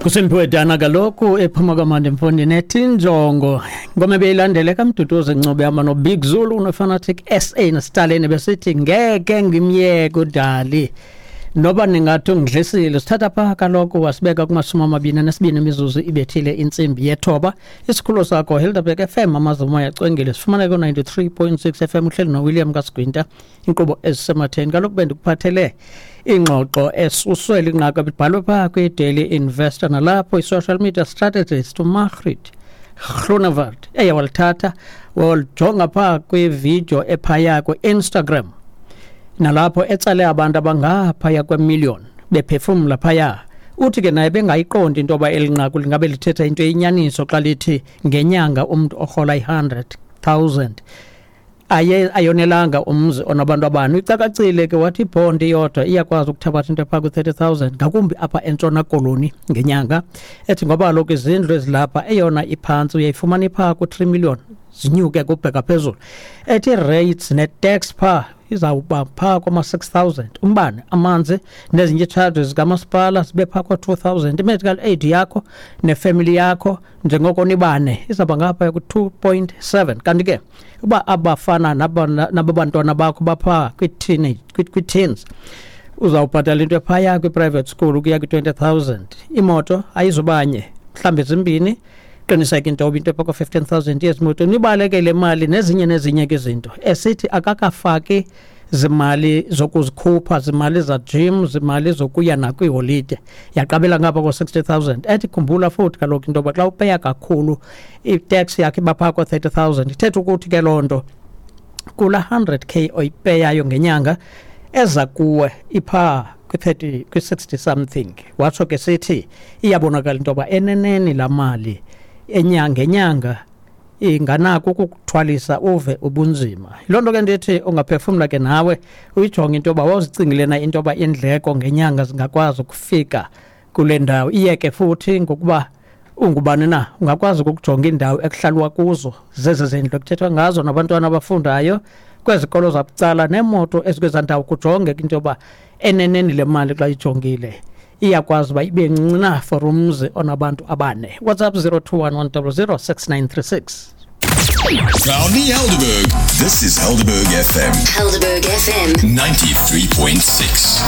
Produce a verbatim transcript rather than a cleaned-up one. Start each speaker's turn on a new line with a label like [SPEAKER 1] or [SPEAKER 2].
[SPEAKER 1] Kusempiwe dana kaloku ephuma kamandi mfondini ethi injongo ngoma ebeyilandele kaMduduzi Ncube hamba noBig Zulu noFanatic S A noStalin besithi ngeke ngimyeke udali noba ningathi ungidlisile. Sithatha pha kaloku wasibeka kumashumi amabini anesibini imizuzu ibethile intsimbi yethoba. Isikhululo sakho Helderberg F M, amazomoya acwengile, sifumaneka ku-ninety-three point six F M. Uhleli noWilliam Kasigwinta, inkqubo ezisematheni. Kaloku bendikuphathele ingxoxo esuswe linqaku ebibhalwe phaa kwi-Daily Investor, nalapho i-social media strategist uMargriet Groenewald eye walithatha walijonga phaa kwividiyo ephaya kwi-Instagram, nalapho etsale abantu abangaphaya kwemillion bephefumla phaya. Uthi ke naye bengayiqondi into yoba eli nqaku lingabe lithetha into eyinyaniso xa lithi ngenyanga umntu orhola i-hundred thousand aye ayonelanga umzi onabantu abane. Uyicakacile ke wathi ibhondi iyodwa iyakwazi ukuthabatha into ephaa ku-thirty thousand, ngakumbi apha eNtshona Koloni ngenyanga. Ethi ngoba kaloku izindlu ezilapha, eyona iphantsi uyayifumana iphaa ku-three million zinyuke kubheka phezulu. Ethi rates ne-tax phaa izawuba phaa kwama-six thousand, umbane, amanzi nezinye ii-charges zikamasipala zibe phaa kwa-two thousand, i-medical aid yakho nefemeli yakho njengoko nibane izawuba ngaphaya ku-two point seven. Kanti ke uba abafana naba bantwana bakho baphaa kwii-teenage, kwii-teens, uzawubhatala into ephaya kwi-private school ukuya kwi-twenty thousand. Imoto ayizubanye, mhlawumbi zimbini, qiniseka into yoba into epha ko-fifteen thousand yezimoto nibaleke le mali nezinye nezinye ke izinto. Esithi akakafaki zimali zokuzikhupha, zimali za-gym, zimali zokuya nakwiiholide, yaqabela ngapha ko-sixty thousand. Ethi khumbula futhi kaloku into yoba xa upeya kakhulu i-tax yakho iba phaa ko-thirty thousand. Ithetha ukuthi ke loo nto kula hundred k oyipeyayo ngenyanga eza kuwe iphaa kwi-thirty, kwi-sixty something. Watsho ke sithi iyabonakala into yoba eneneni laa mali enyanga ngenyanga inganako ukukuthwalisa uve ubunzima. Yiloo nto ke ndithi ungaphefumla ke nawe uyijonge into yoba wawuzicingile na into yoba iindleko ngenyanga zingakwazi ukufika kule ndawo. Iye ke futhi ngokuba ungubani na, ungakwazi ukukujonga iindawo ekuhlalwa kuzo zezi zindlu ekuthethwa ngazo, nabantwana abafundayo kwezikolo zabucala, neemoto ezikwezaa ndawo, kujonge into yoba eneneni le mali xa ijongile iyakwazi uba ibe ncinci na for umzi onabantu abane. WhatsApp zero two one one zero zero six nine three six.
[SPEAKER 2] Proudly Helderberg. This is Helderberg F M.
[SPEAKER 3] Helderberg F M.
[SPEAKER 2] ninety-three point six.